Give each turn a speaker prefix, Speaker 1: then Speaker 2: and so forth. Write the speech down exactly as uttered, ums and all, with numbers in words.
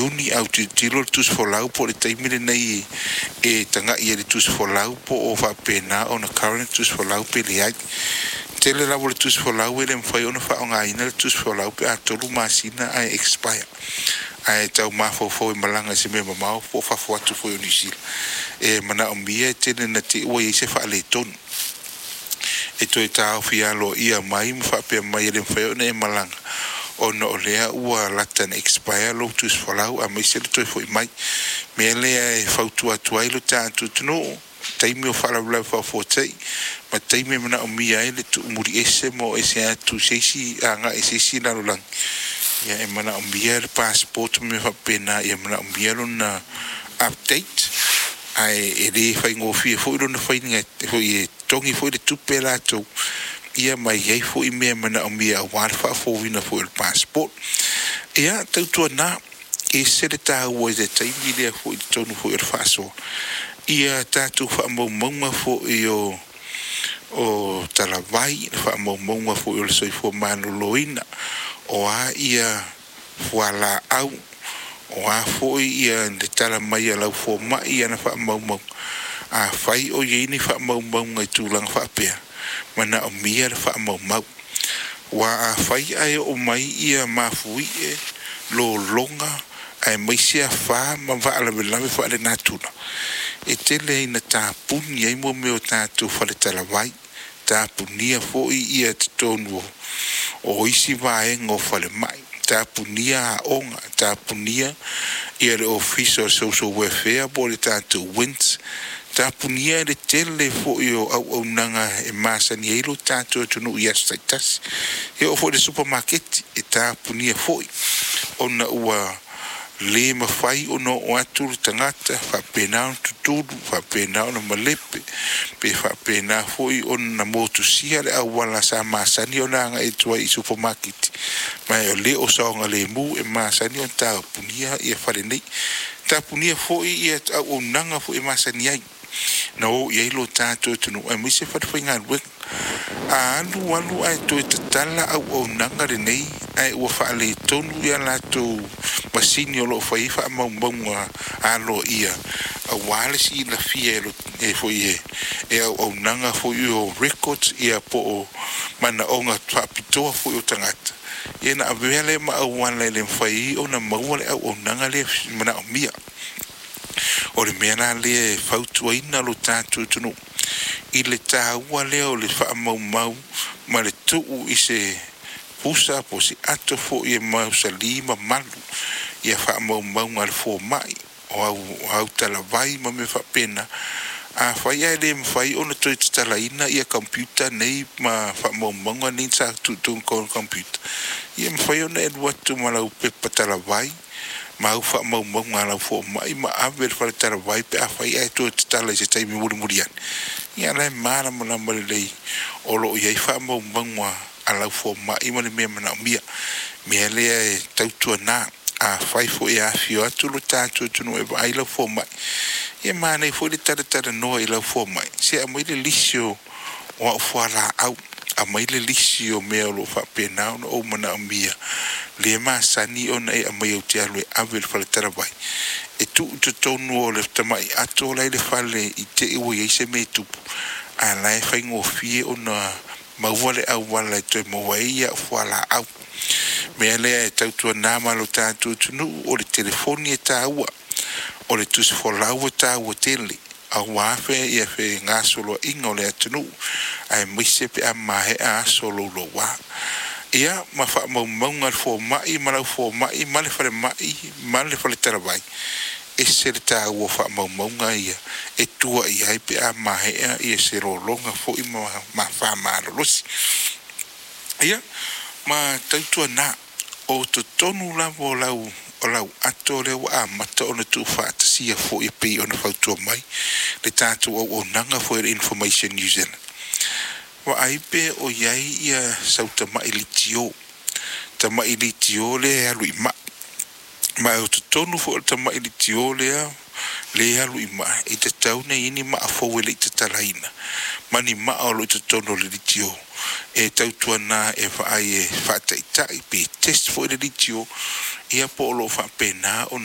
Speaker 1: Iuni a tilotilo le tusi folau po o le taimi lenei e tagai ai i le tusi folau po o faapena ona current tusi folau pe leai. Tele lava o le tusi folau e le mafai ona faaaogaina le tusi folau pe a tolu masina ae expire, ae tau mafaufau e malaga i se mea mamao po o fafo atu foi o Niu Sila e manaomia e tele na te i ua i ai se faaletonu e toe taofi aloaia mai ma faapea mai e le mafai ona e malaga ona o lea ua lata ina expire lou tusi folau aemaise le toe foi mai. Mea lea e fautua atu ai lo tatou atunuu, taimi o faalavelave faafuasei ma taimi e manaomia ai le tuumuli ese ma o ese atu se isi agai i se isi lalolagi, ia e manaomia le passport ma mea faapena, ia manaomia lona update, ae e le faigofie foi lona faiga foi e totogi foi le tupe latou ia ma i ai foi mea manaomia aua le faafouina foi o le passport. Ia tautuana ese le taua i le taimi lea foi i totonu foi o le faasoa ia tatou faamaumauga foi o o talavai, le faamaumauga foi o le soifua maloloina, o a ia fualaau, o a foi ia le tala mai a lau fomai ana faamaumauga. Afai o i ai ni faamaumauga i tulaga faapea, manaomia le faamaumau. Aua afai ae oo mai ia mafuie, lologa aemaise afa ma faalavelave faalenatura, e tele ina tapuni ai mo mea o tatou faletalavai, tapunia foi ia totonu o isi vaega o falemai, tapunia aoga, tapunia ia le ofisa o le Social Welfare po o le tatou W I N S, tapunia le tele foi o auaunaga e masani ai lo tatou atunuu i aso taitasi. E oo foi i le supamaketi e tapunia foi ona ua le mafai ona oo atu le tagata faapena ona tutulu, faapena ona malepe, pe faapena foi ona motusia le auala sa masani ona agai atu ai i supamaketi, ma o le o saogalemu e masani ona tapunia ia fale nei. Tapunia foi ia auaunaga foi e masani ai na o i ai lo tatou atunuu aemaise falefaigaluega. A alu alu ae toe tatala auaunaga lenei ae ua faaletonu ia latou masini o lo o fai ai faamaumauga aloaia aua le silafia e foi e auaunaga foi o records ia po o manaoga faapitoa foi o tagata, ia na avea lea ma auala e le mafai ona maua le auaunaga lea manaomia. O le mea la lea e fautuaina lo tatou atunuu i le taua lea o le faamaumau ma le tuu i se pusa po o se ato foi e mausali ma malu ia faamaumauga a le fomai o au, au talavai ma mea faapena. Afai ae le mafai ona toe tatalaina ia computer nei ma faamaumauga nei sa tuutuu i computer, ia mafai ona e alu atu ma lau pepa talavai ma au faamaumauga a lau fomai ma ave i le faletalavai pe afai ae toe tatala i se taimi mulimuli ane, ia la e malamalama lelei o lo o i ai faamaumauga a lau fomai ma le mea manaomia. Mea lea e tautuana, afai foi e afifio atu lo tatou atunuu e vaai lau fomai, ia manaia foi le talatalanoa i lau fomai, se aumai le lisi o o au fualaau, aumai le lisi o mea o lo o faapena ona ou manaomia le masani ona e aumai ou te alu e ave i le faletalavai e tuu i totonu o le tamai ato la i le fale i te i ua i ai se mea e tupu, a la e faigofie ona maua le auala e toe maua ai au fualaau. Mea lea e tautuana ma lo tatou atunuu, o le telefoni e taua, o le tusi folau e taua tele aua fe ia fegasoloaiga o le atunuu aemaise pe a maea aso louloua. Ia ma faamaumauga a le fomai ma lau fomai ma le falemai ma le faletalavai, ese le taua o faamaumauga ia e tua i ai pe a maea ia se lologa foi ma ma malolosi. Ia ma tautuana o totonu lava o lau o lau ato lea ua amata ona tuufaatasia foi e pei ona fautua mai le tatou auaunaga foi o le Information New Zealand. Vaai pe o i ai ia sau tamai litio, tamai litio lea e alu i maa. Ma o totonu foi o le tamai litio lea le alu i maa, e tatau ona i ai ni maa fou e le i tatalaina ma ni maa o lo o i totonu o le litio e tautuana e vaai e faataitai pe test foi le litio ia po o lo o faapena ona